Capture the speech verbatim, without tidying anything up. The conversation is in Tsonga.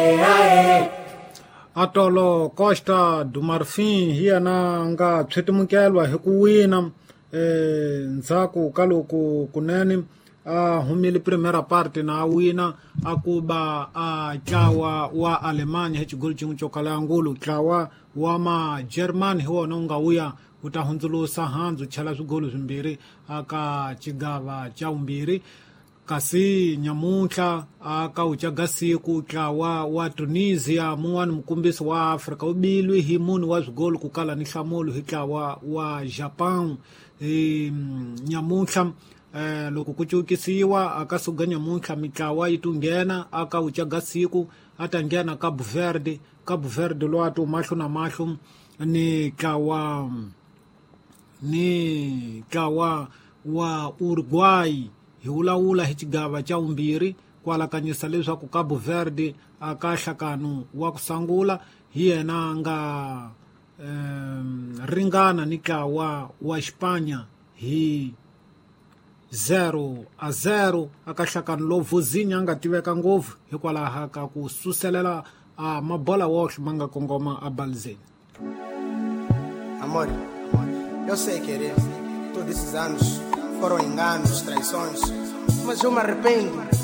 Aê. Atolo Costa do Marfim hi yena nga tshwetimukelwa hi ku wina eh ndzhaku ka loko kunene a humile primera parte na a wina a kuba a ntlawa wa Alemanya hi xigolo xin'we xo kala ngulu. Ntlawa wa ma German hi wona wu nga wuya wu ta hundzulusa handzu chela swigolo swimbirhi aka xigava xa vumbirhi. Kasi nyamuntlha aka wucaga siku ntlawa wa Tunisia mun'wani mukombisi wa Afrika wu bilwi hi mune wa swigolo ku kala ni nhlamulo hi ntlawa wa Japan. E, nyamuntlha eh, loko ku cukisiwa aka suka nyamuntlha mitlawa yi tunghena aka wucaga siku a ta nghena Cabo Verde. Cabo Verde lowu a ti mahlo na mahlo ni ntlawa ni ntlawa wa Uruguay. Hi vulavula hi xigava xa vumbirhi ku alakanyisa leswaku Cabo Verde aka nhlakano wa ku sungula hi yena nga um, ringana ni ntlawa wa Xipanya hi zero a zero aka nhlakano lowu Vozinha a nga tiveka ngopfu hikwalaho ka ku suselela a mabola woxe ma nga kongoma a balizeni. Amor, eu sei querer. Todos esses anos foram enganos, traições, mas eu me arrependo.